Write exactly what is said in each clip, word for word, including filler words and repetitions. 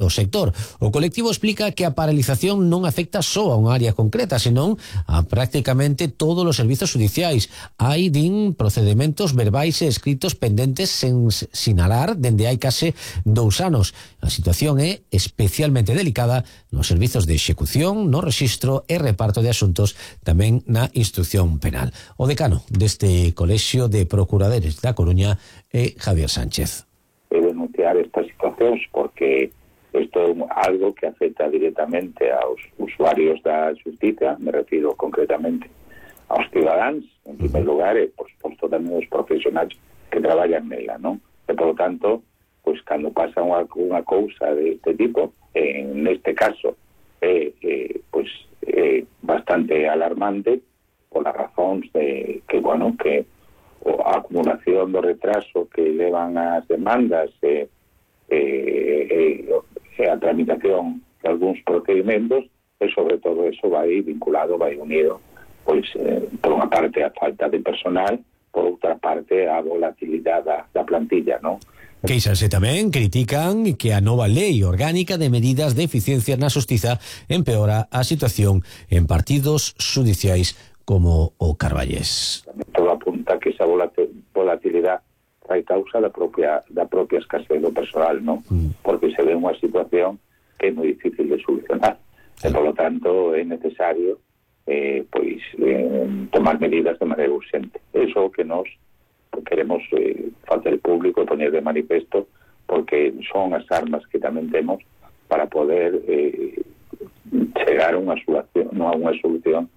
do sector. O colectivo explica que a paralización non afecta só a unha área concreta, senón a prácticamente todos os servizos judiciais. Hai, din, procedementos verbais e escritos pendentes sen sinalar dende hai case dous anos. A situación é especialmente delicada nos servizos de execución, no rexistro e reparto de asuntos, tamén na instrucción penal. O decano deste Colexio de Procuradores da Coruña é Javier Sánchez. De denunciar estas situacións porque isto é algo que afecta directamente aos usuarios da xustiza, me refiro concretamente aos cidadáns, en primer lugar, e, por suposto, tamén os profesionais que traballan nela, non? E, por lo tanto, pois, cando pasa unha, unha cousa deste tipo, en este caso, é, eh, pois, é bastante alarmante polas razóns de que, bueno, que a acumulación do retraso que levan as demandas e, e, e a tramitación de algúns procedimentos, e sobre todo eso vai vinculado, vai unido, pois, eh, por unha parte a falta de personal, por outra parte a volatilidade da, da plantilla, non? Queixanse tamén, critican que a nova lei orgánica de medidas de eficiencia na xustiza empeora a situación en partidos xudiciais como o Carballés. Todo apunta que esa volatilidade trae causa da propia da propia escasez do personal, non? Mm. Porque se ve unha situación que é moi difícil de solucionar. Sí. E, por lo tanto, é necesario eh, pois eh, tomar medidas de maneira urgente. Eso que nos queremos eh, facer público e poñer de manifesto, porque son as armas que tamén temos para poder eh, chegar a unha solución, non a unha solución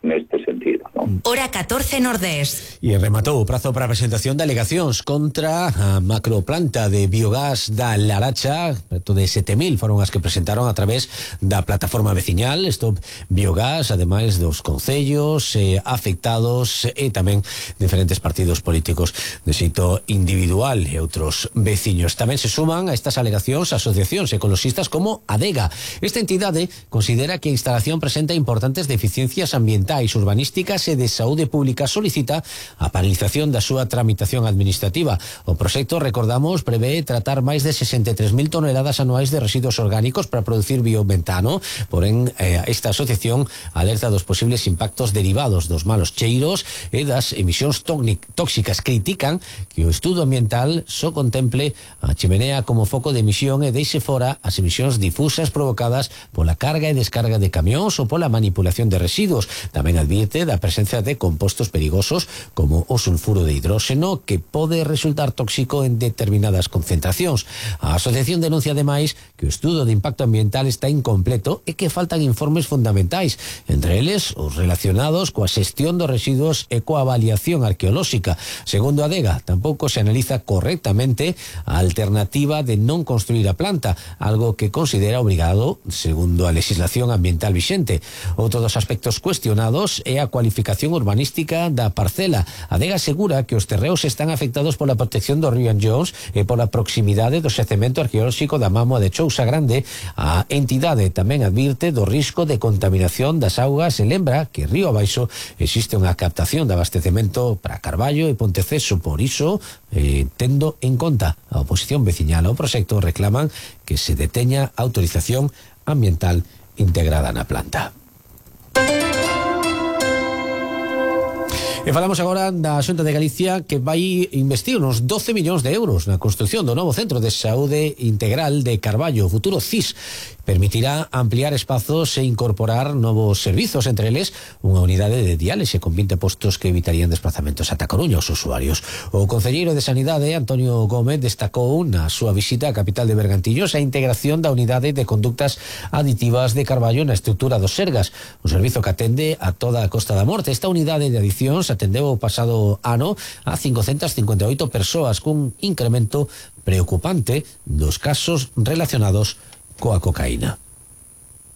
neste sentido, non? Hora catorce Nordés. E rematou o prazo para a presentación de alegacións contra a macroplanta de biogás da Laracha. Preto de sete mil foron as que presentaron a través da plataforma veciñal Stop Biogás, ademais dos concellos eh, afectados e tamén diferentes partidos políticos de xeito individual e outros veciños. Tamén se suman a estas alegacións asociacións ecologistas como ADEGA. Esta entidade considera que a instalación presenta importantes deficiencias ambientais, urbanísticas e de saúde pública. Solicita a paralización da súa tramitación administrativa. O proxecto, recordamos, prevé tratar máis de sesenta e tres mil toneladas anuais de residuos orgánicos para producir biometano. Porén, eh, esta asociación alerta dos posibles impactos derivados dos malos cheiros e das emisións tóxicas. Critican que o estudo ambiental só contemple a chimenea como foco de emisión e deixe fora as emisións difusas provocadas pola carga e descarga de camións ou pola manipulación de residuos. Tamén advirte da presencia de compostos perigosos como o sulfuro de hidróxeno, que pode resultar tóxico en determinadas concentracións. A asociación denuncia ademais que o estudo de impacto ambiental está incompleto e que faltan informes fundamentais, entre eles os relacionados coa xestión dos residuos e coa avaliación arqueolóxica. Segundo a ADEGA, tampouco se analiza correctamente a alternativa de non construir a planta, algo que considera obrigado segundo a legislación ambiental vixente. Outro dos aspectos cuestionados é a cualificación urbanística da parcela. A ADEGA asegura que os terreos están afectados pola protección do río Anllóns e pola proximidade do xacemento arqueolóxico da Mámoa de Chousa Grande. A entidade tamén advirte do risco de contaminación das augas e lembra que río abaixo existe unha captación de abastecemento para Carballo e Ponteceso. Por iso, eh, tendo en conta a oposición veciñal ao proxecto, reclaman que se deteña a autorización ambiental integrada na planta. E falamos agora da Xunta de Galicia, que vai investir uns doce millóns de euros na construción do novo Centro de Saúde Integral de Carballo. O futuro C I S permitirá ampliar espazos e incorporar novos servizos, entre eles unha unidade de diálise con vinte postos que evitarían desplazamentos ata Coruña aos usuarios. O concelleiro de Sanidade, Antonio Gómez, destacou na súa visita á capital de Bergantillos a integración da unidade de conductas aditivas de Carballo na estrutura dos Sergas, un servizo que atende a toda a Costa da Morte. Esta unidade de adicións atendeu o pasado ano a cincocentas cincuenta e oito persoas, cun incremento preocupante dos casos relacionados coa cocaína.